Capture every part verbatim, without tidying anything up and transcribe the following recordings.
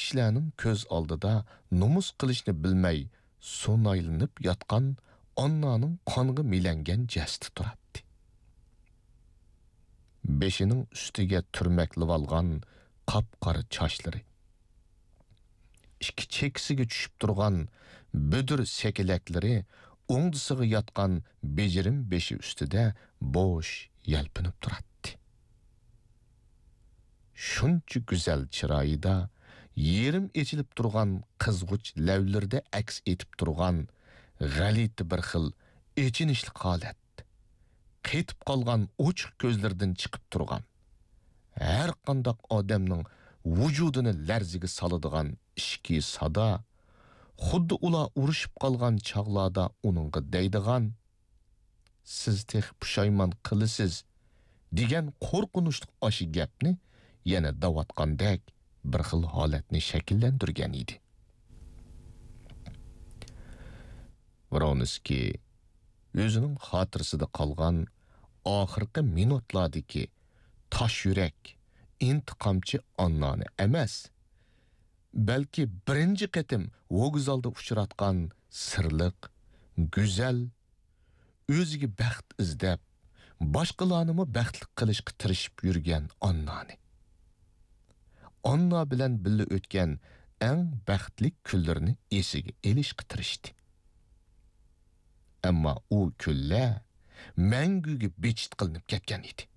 كىشىلەرنىڭ كۆز ئالدىدا نومۇس قىلىشنى بىلمەي سۇنايلىنىپ ياتقان ئاننانىڭ قانغا مىلەنگەن جەسىتى تۇراتتى. بېشىنىڭ ئۈستىگە تۈرمەكلىۋالغان قاپقارا چاچلىرى، ئىككى چېكىسىگە چۈشۈپ تۇرغان بۈدۈر سەكىلەكلىرى ئوڭدىسىغا ياتقان بېجىرىم بېشى ئۈستىدە بوش يەلپۈنۈپ تۇراتتى. شۇنچە گۈزەل چىرايىدا، يېرىم ئېچىلىپ تۇرغان قىزغۇچ لەۋلىرىدە ئەكس ئېتىپ تۇرغان غەلىتە بىر خىل ئېچىنىشلىق ھالەت، قېتىپ قالغان ئوچۇق كۆزلىرىدىن چىقىپ تۇرغان، ھەر قانداق ئادەمنىڭ ۋۇجۇدىنى لەرزىگە سالىدىغان ئىچكى سادا، خۇددى ئۇلار ئۇرۇشۇپ قالغان چاغلاردا ئۇنىڭغا دەيدىغان، «سىز تېخى پۇشايمان قىلىسىز» دېگەن قورقۇنچلۇق ئاشۇ گەپنى يەنە دەۋاتقاندەك بىر خىل ھالەتنى شەكىللەندۈرگەن ئىدى. ۋرونسكىي ئۆزىنىڭ خاتىرىسىدە قالغان ئاخىرقى مىنۇتلاردىكى تاش يۈرەك، ئىنتىقامچى ئاننانى ئەمەس، بەلكى بىرىنچى قېتىم ۋوگزالدا ئۇچراتقان سىرلىق، گۈزەل، ئۆزىگە بەخت ئىزدەپ، باشقىلارنىمۇ بەختلىك قىلىشقا تىرىشىپ يۈرگەن ئاننانى، ئاننا بىلەن بىللە ئۆتكەن ئەڭ بەختلىك كۈنلىرىنى ئېسىگە ئېلىشقا تىرىشتى. ئەمما ئۇ كۈنلەر مەڭگۈگە بىچىت قىلىنىپ كەتكەن ئىدى.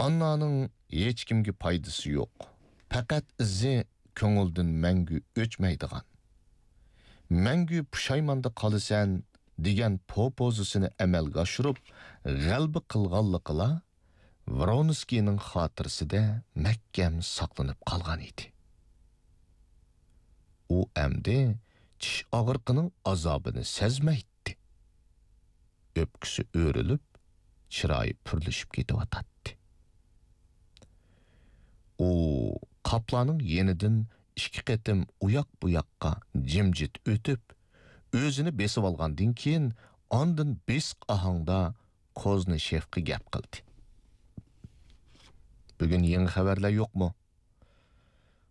ئاننانىڭ ھېچكىمگە پايدىسى يوق، پەقەت ئىزى كۆڭۈلدىن مەڭگۈ ئۆچمەيدىغان، «مەڭگۈ پۇشايماندا قالىسەن» دېگەن پوپوزىسىنى ئەمەلگە ئاشۇرۇپ، غەلىبە قىلغانلىقىلا ۋرونسكىينىڭ خاتىرىسىدە مەھكەم ساقلىنىپ قالغان ئىدى. ئۇ ئەمدى چىش ئاغرىقىنىڭ ئازابىنى سەزمەيتتى. ئۆپكىسى ئۆرۈلۈپ، چىرايى پۈرلىشىپ كېتىۋاتاتتى. ئۇ قاپلارنىڭ يېنىدىن ئىككى قېتىم ئۇياق-بۇياققا جىمجىت ئۆتۈپ، ئۆزىنى بېسىۋالغاندىن كېيىن، ئاندىن بېسىق ئاھاڭدا كوزنىشېفقا گەپ قىلدى. «بۈگۈن يېڭى خەۋەرلەر يوقمۇ؟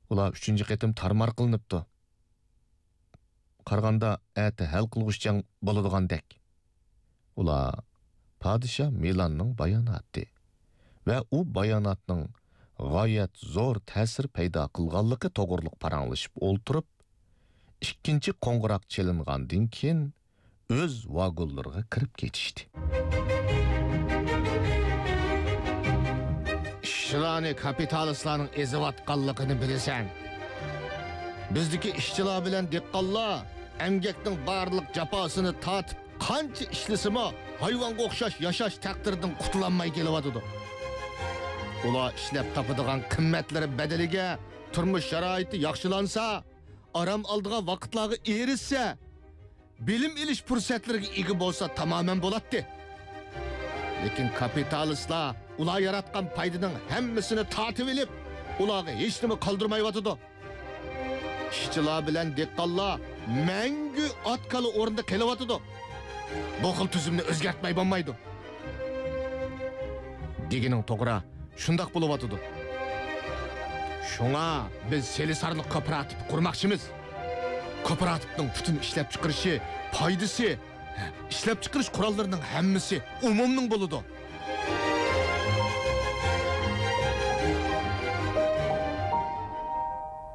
ئۇلار ئۈچىنچى قېتىم تارمار قىلىنىپتۇ. قارىغاندا، ئەتە ھەل قىلغۇچ جەڭ بولىدىغاندەك.» ئۇلار پادىشاھ مىلاننىڭ باياناتى ۋە ئۇ باياناتنىڭ غايەت زور تەسىر پەيدا قىلغانلىقى توغرۇلۇق پاراڭلىشىپ ئولتۇرۇپ، ئىككىنچى قوڭغۇراق چېلىنغاندىن كېيىن، ئۆز ۋاگونلىرىغا كىرىپ كېتىشتى. «ئىشچىلارنى كاپىتالىستلارنىڭ ئېزىۋاتقانلىقىنى بىلىسەن. بىزدىكى ئىشچىلار بىلەن دېھقانلار ئەمگەكنىڭ بارلىق جاپاسىنى تارتىپ، قانچە ئىشلىسىمۇ، ھايۋانغا ئوخشاش ياشاش تەقدىرىدىن قۇتۇلالماي كېلىۋاتىدۇ. ئۇلار ئىشلەپ تاپىدىغان قىممەتلىرى بەدىلىگە تۇرمۇش شارائىتى ياخشىلانسا، ئارام ئالىدىغان ۋاقىتلارغا ئېرىشسە، بىلىم ئېلىش پۇرسەتلىرىگە ئىگە بولسا تامامەن بولاتتى. لېكىن كاپىتالىستلار ئۇلار ياراتقان پايدىنىڭ ھەممىسىنى تارتىۋېلىپ، ئۇلارغا ھېچنېمە قالدۇرمايۋاتىدۇ. ئىشچىلار بىلەن دېھقانلار مەڭگۈ ئات-كالا ئورنىدا قېلىۋاتىدۇ. بۇ خىل تۈزۈمنى ئۆزگەرتمەي بولمايدۇ.» «دېگىنىڭ توغرا، شۇنداق بولۇۋاتىدۇ. شۇڭا بىز سېلىسارلىق كوپىراتىپى قۇرماقچىمىز. كوپىراتىپنىڭ پۈتۈن ئىشلەپچىقىرىشى، پايدىسى، ئىشلەپچىقىرىش قوراللىرىنىڭ ھەممىسى ئومۇمنىڭ بولىدۇ.»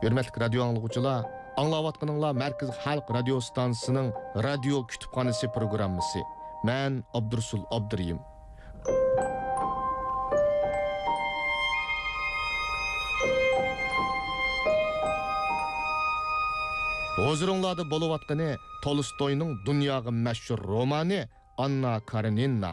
ھۆرمەتلىك رادىيو ئاڭلىغۇچىلار، ئاڭلاۋاتقىنىڭلار مەركىزىي خەلق رادىيو ئىستانسىسىنىڭ رادىيو كۇتۇپخانىسى پروگراممىسى. مەن ئابدۇرۇسۇل ئابدۇرېھىم. ھۇزۇرۇڭلاردا بولۇۋاتقىنى تولستوينىڭ دۇنياغا مەشھۇر رومانى «ئاننا كارېنىنا».